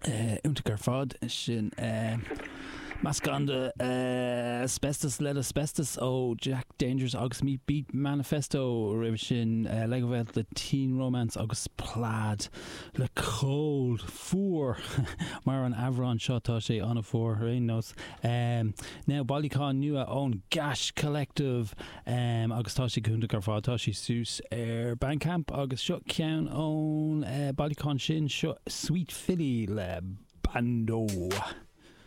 Iontach ar fad. Sin meascán de Asbestos Lead Asbestos ó Jack Dangerous agus Meat Beat Manifesto. Roimhe sin Legowelt le Teen Romance agus Plaid le Cold, fuar, mar an Aibreán seo, tá sé an-fhuar ar aon nós. Now bailiúchán nua ón Gash Collective agus tá sé go hiontach ar fad. Tá sé suas ar Bandcamp agus seo ceann ón bailiúchán sin, seo Sweet Philly le Bando.